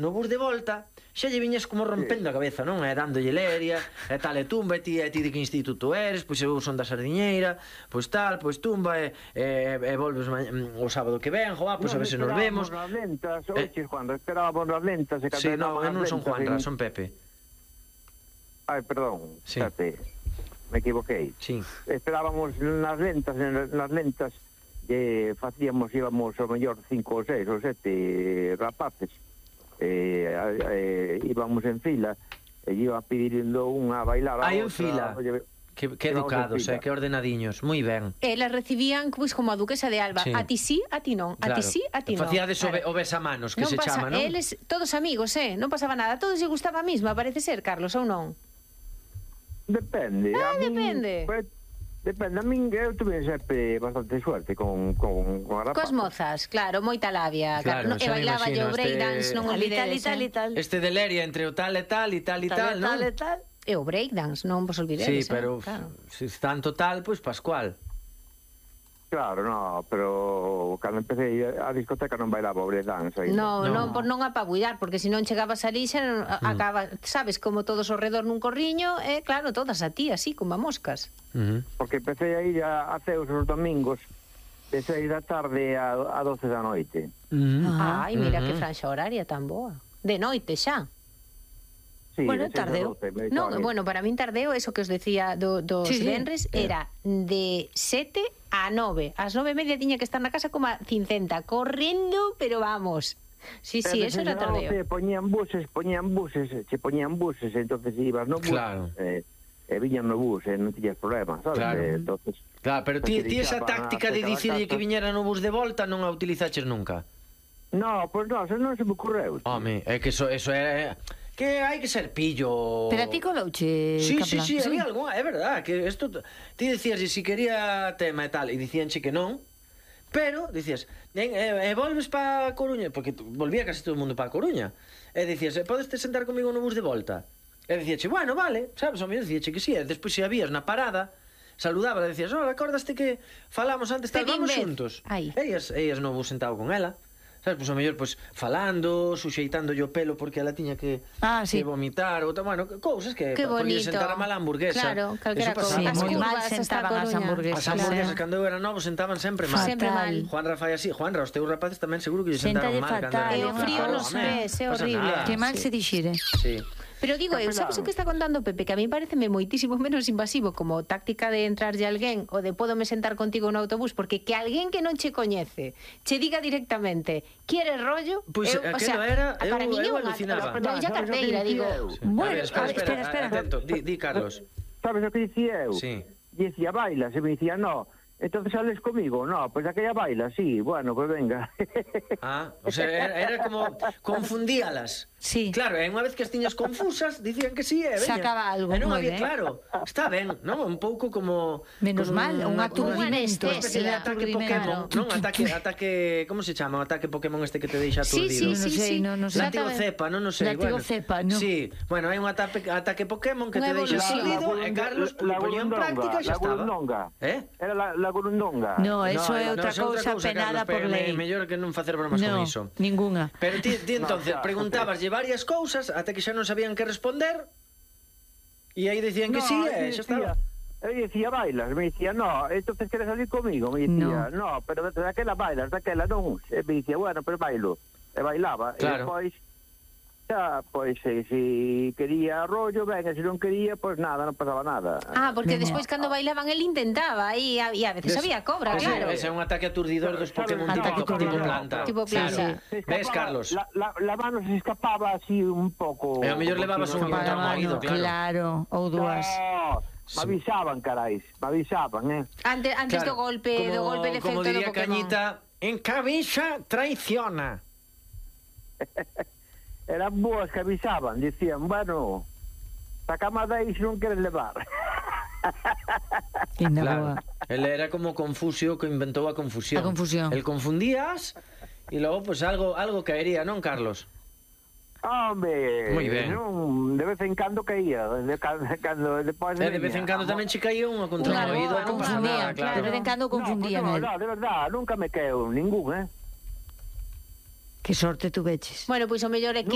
no bus de volta xa lle viñas como rompendo a cabeza, non? E dándolle leria, e tal, e tumba, e ti de que instituto eres, pois eu son da Sardiñeira, pois tal, pois tumba, e volves o sábado que ven, joa, pois a ver se nos vemos. Esperábamos nas lentas, oiches, Juanra, esperábamos nas lentas. Sí, non, eu non son Juanra, son Pepe. Ai, perdón, sí. Me equivoquei. Sí. Esperábamos nas lentas, íbamos ao mellor 5 ou 6 ou 7 rapaces, íbamos en fila, e iba pedindo unha a bailar a outra. Hai en fila. Que educados, que ordenadiños, moi ben. Elas recibían pois como a duquesa de Alba, a ti sí, a ti non, a ti sí, a ti non. Facíades o besamanos, que se chama, non? Eles, todos amigos, non pasaba nada, todos lle gustaba a mesma, parece ser, Carlos, ou non? Depende. Depende. Depende, a min eu tuve sempre bastante suerte con a rapaz. Cos mozas, claro, moita labia. Claro, e bailaba o breakdance, non olvidedes. Este de leria entre o tal e tal, non? E o breakdance, non vos olvidedes. Sí, pero se tanto tal, pois Pascual. Claro, no, pero cando empecé a discoteca non bailaba o breakdance. Non apabullar, porque se non chegabas ali xa acaba, sabes, como todos ao redor nun corriño, e claro, todas a ti, así, como a moscas. Porque empecé a ir a Ceus os domingos de 6 da tarde a 12 da noite. Ai, mira que franxa horaria tan boa. De noite xa. Sí, bueno, tardeo. Non, bueno, para min tardeo, eso que os decía dos venres, era de 7 a 9. Ás 9:30 tiña que estar na casa como a cincenta, correndo, pero vamos. Sí, eso era tardeo. Poñían buses, entonces ibas no bus. Claro. E viñan no bus, non tiñas problemas, sabes? Claro, pero ti esa táctica de dicirlle que viñera no bus de volta non a utilizaches nunca? No, pois non, non se me ocurreu. Home, é que eso é... que hai que ser pillo. Pero a ti colouche, Capela? Sí, había algunha, é verdad, que isto ti dicías si quería tema e tal, e dicíanche que non, pero dicías, volves pa Coruña, porque volvía casi todo o mundo pa Coruña, e dicías, podes te sentar comigo no bus de volta? E dicíache, bueno, vale, sabes, o mellor dicíache que sí, e despois se habías na parada, saludaba, e dicías, hola, acordaste que falamos antes, tal, vamos xuntos. Ellas no bus sentado con ela. Sabes, pois o mellor, pois, falando, suxeitándolle o pelo porque ela tiña que vomitar, ou bueno, cousas que podía sentar a mala hamburguesa. Claro, calquera cousa. Moi mal sentaban as hamburguesas. As hamburguesas, cando eu era novo, sentaban sempre mal. Sempre mal. Juanra fai así. Juanra, os teus rapaces tamén seguro que lle sentaron mal. E o frío nos pés, é horrible. Que mal se dixire. Sí. Pero digo, sabes o que está contando Pepe? Que a mí pareceme moitísimo menos invasivo como táctica de entrarlle a alguén ou de pódome sentar contigo no autobús, porque que alguén que non che coñece che diga directamente quieres rollo, pois aquilo era, eu alucinaba. Eu xa carteira, digo. Bueno, espera, atento, di Carlos. Sabes o que dicía eu? Sí. Dicía, baila, se me dicía, no. Entonces sales comigo, no, pues aquella baila, sí, bueno, pues venga. O sea, era como confundíalas. Sí. Claro, e unha vez que as tiñas confusas, dicían que sí, veña. Sacaba algo, non moi había, ben. claro, está ben, non? Un pouco como... Menos mal, un aturdimento. Unha especie de ataque Pokémon, non? Ataque, como se chama? O ataque Pokémon este que te deixa aturdido. Sí. Látigo cepa, non sei. Látigo cepa, non? Sí, bueno, hai un ataque Pokémon que te deixa aturdido e Carlos poñía en práctica e xa estaba. Era la Gurundonga. No, eso é outra cousa penada por lei. Mellor que non facer bromas con iso. Ninguna. Pero ti entonces preguntabas varias cousas ata que xa non sabían que responder e aí decían que sí e xa estaba. Eu dicía, bailas, me dicía, no, entonces queres salir comigo, me dicía, no, pero daquela bailas, daquela non, e me dicía, bueno, pero bailo, e bailaba, claro. E depois, xa, pois, se quería rollo, venga, se non quería, pois nada, non pasaba nada. Porque despois cando bailaban el intentaba, e a veces había cobra, claro. Ese é un ataque aturdidor dos Pokémon tipo planta. Tipo planta. Ves, Carlos? La mano se escapaba así un pouco. E ao mellor levabas unha contra o marido, claro, ou dúas. Me avisaban, carais, me avisaban, Antes do golpe de efecto do Pokémon. Como diría Cañita, en cabeza traiciona. Eran boas que avisaban, dicían, bueno, sacama dai se non queres levar. Claro, él era como Confusio que inventou a confusión. A confusión. El confundías e logo pues algo caería, non, Carlos? Hombre, moi ben. De vez en cando caía, de vez en cando tamén che caía unha contra o oído, non pasa nada, claro. De vez en cando confundían. No, de verdad, nunca me caeu ningún, Que sorte tu veches. Bueno, pois o mellor é que